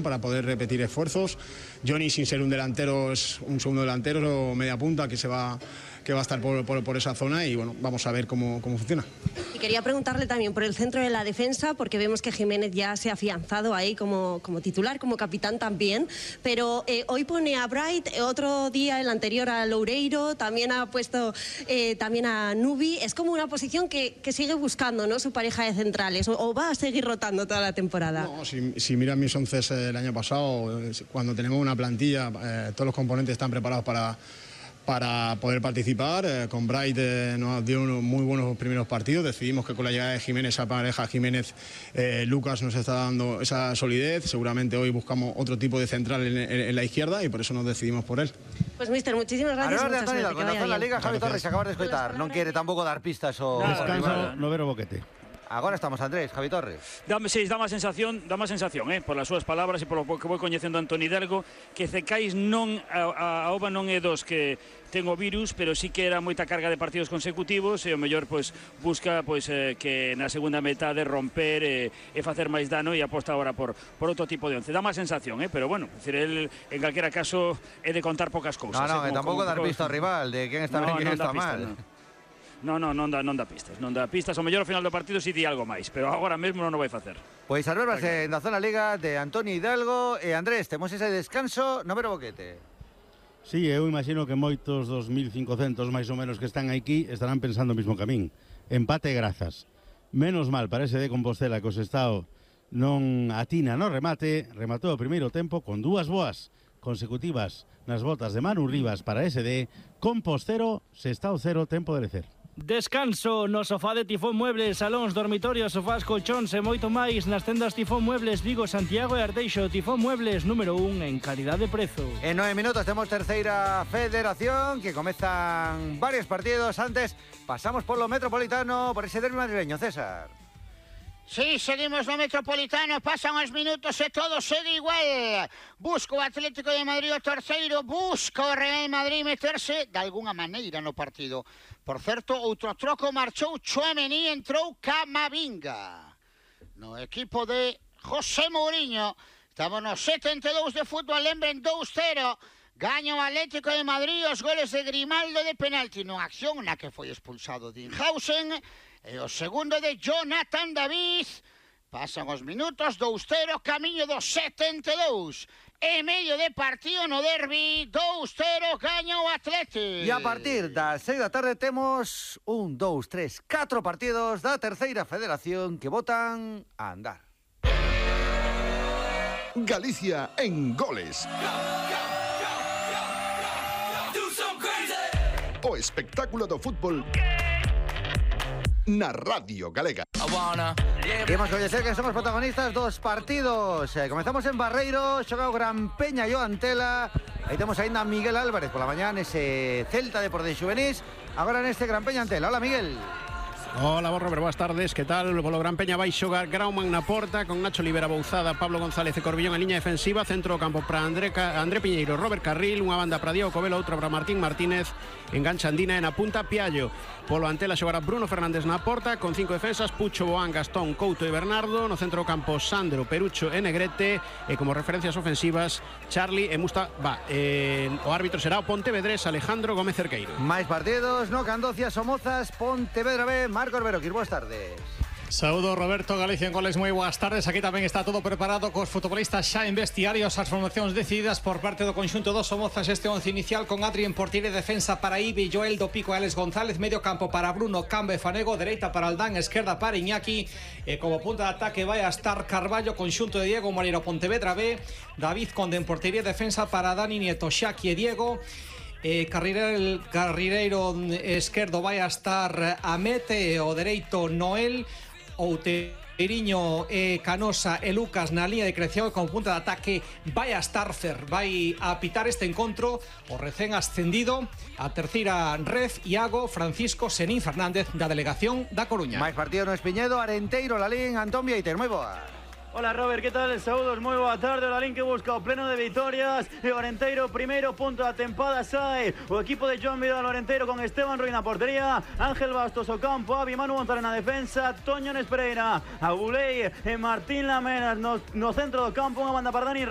para poder repetir esfuerzos. Johnny, sin ser un delantero, es un segundo delantero o media punta que va a estar por esa zona y bueno, vamos a ver cómo funciona. Y quería preguntarle también por el centro de la defensa, porque vemos que Jiménez ya se ha afianzado ahí como titular, como capitán también, pero hoy pone a Bright, otro día el anterior a Loureiro, también ha puesto también a Nubi. Es como una posición que sigue buscando, ¿no?, su pareja de centrales, o va a seguir rotando toda la temporada. No, si miras mis 11 el año pasado, cuando tenemos una plantilla, todos los componentes están preparados para poder participar. Con Bright nos dio unos muy buenos primeros partidos. Decidimos que con la llegada de Jiménez, esa pareja Jiménez-Lucas nos está dando esa solidez. Seguramente hoy buscamos otro tipo de central en la izquierda y por eso nos decidimos por él. Pues míster, muchísimas gracias. Con la Liga, Javi Torres, acabas de escoitar. Non quere tampouco dar pistas o Descanso, no ver o boquete. Agora estamos, Andrés, Javi Torres. Dá má sensación, por as súas palabras e polo que vou coñecendo a Antoni Hidalgo, que Cecais non, a OVA non é dos que ten o virus, pero sí que era moita carga de partidos consecutivos e o mellor busca que na segunda metade romper e facer máis dano e aposta agora por outro tipo de once. Dá má sensación, pero bueno, el en calquera caso é de contar poucas cousas. Non, tampouco dar pista ao rival de quen está ben e quen está mal. Non dá pistas. O mellor ao final do partido si di algo máis, pero agora mesmo non o vai facer. Pois as verbas en da zona Liga de Antoni Hidalgo e Andrés, temos ese descanso no ver o boquete. Sí, eu imagino que moitos dos 1.500 máis ou menos que están aquí estarán pensando o mismo camín. Empate e grazas. Menos mal para ese de Compostela que o Sestao non atina no remate, rematou o primeiro tempo con dúas boas consecutivas nas botas de Manu Rivas para SD, Compostero, Sestao 0, tempo de lecer. Descanso no sofá de Tifón Muebles, salóns, dormitorios, sofás, colchóns e moito máis nas tendas Tifón Muebles Vigo, Santiago e Arteixo. Tifón Muebles, número 1 en calidad de prezo. En 9 minutos temos terceira federación, que comezan varios partidos. Antes pasamos por lo metropolitano, por ese derbi madrileño, César. Sí, seguimos no Metropolitano, pasan os minutos e todo segue igual. Busca o Atlético de Madrid o terceiro, busca o Real Madrid meterse de alguna maneira no partido. Por certo, outro troco marchou Tchouaméni, entrou Camavinga. No equipo de José Mourinho, estamos no 72 de fútbol, lembren 2-0. Gaña o Atlético de Madrid, os goles de Grimaldo de penalti nunha acción na que foi expulsado Dinhausen. E o segundo de Jonathan David. Pasan os minutos, 2-0, camiño do 72. E medio de partido no derbi, 2-0, gaña o Atlético. E a partir das 6 da tarde temos 1, 2, 3, 4 partidos da terceira federación que botan a andar. Galicia en goles. O espectáculo do fútbol na Radio Galega. Queremos coñecer que somos protagonistas dos partidos. Comezamos en Barreiro, xoga o Gran Peña e o Antela. Aí temos ainda a Miguel Álvarez pola mañá nese Celta de Porte Xuvenís. Agora neste Gran Peña Antela. Hola, Miguel. Hola, Robert, boas tardes, que tal? Polo Gran Peña vai xogar Grauman na porta, con Nacho Libera Bouzada, Pablo González e Corbillón en liña defensiva, centro do campo para André Piñeiro, Robert Carril, unha banda para Diego Covelo, outra para Martín Martínez, engancha Andina e na punta Piallo. Polo Antela xogará Bruno Fernández na porta, con 5 defensas, Pucho, Boán, Gastón, Couto e Bernardo, no centro do campo Sandro, Perucho e Negrete, e como referencias ofensivas Charlie e Mustafa. O árbitro será o Pontevedrés Alejandro Gómez Cerqueiro. Máis partidos, no Candocias, Somozas, Pontevedra B, Marcos Beroquir, boas tardes. Saúdo, Roberto, Galicia en goles, moi boas tardes. Aquí tamén está todo preparado cos futbolistas xa en vestiarios, as formacións decididas por parte do conxunto dos Somozas. Este 11 inicial con Adri en portería, defensa para Ibi, Joel do Pico e Alex González, medio campo para Bruno, Cambe, Fanego, dereita para Aldán, esquerda para Iñaki, e como punta de ataque vai a estar Carballo, conxunto de Diego Moreira, Pontevedra B, David Conde en portería, defensa para Dani Nieto, Xaki e Diego. Carrireiro esquerdo vai a estar Amete, o dereito Noel, Outeiriño, Canosa e Lucas na línea de creación, e con punta de ataque vai a estar Fer. Vai a pitar este encontro o recén ascendido a terceira ref Iago Francisco Senín Fernández da delegación da Coruña. Máis partido no Espiñedo, Arenteiro, Lalín, Antón Vieiter, moi boa. Hola, Robert, ¿qué tal? Saúdos, moi boa tarde. O Lalín que busca o pleno de vitorias. E o Arenteiro, primeiro punto da tempada, sai o equipo de Joan Vidal. O Arenteiro con Esteban Ruiz na portería, Ángel Bastos o campo, Avi Manu González na defensa, Toño Nespereira, Agulei e Martín Lamenas no centro do campo. Unha banda para Dani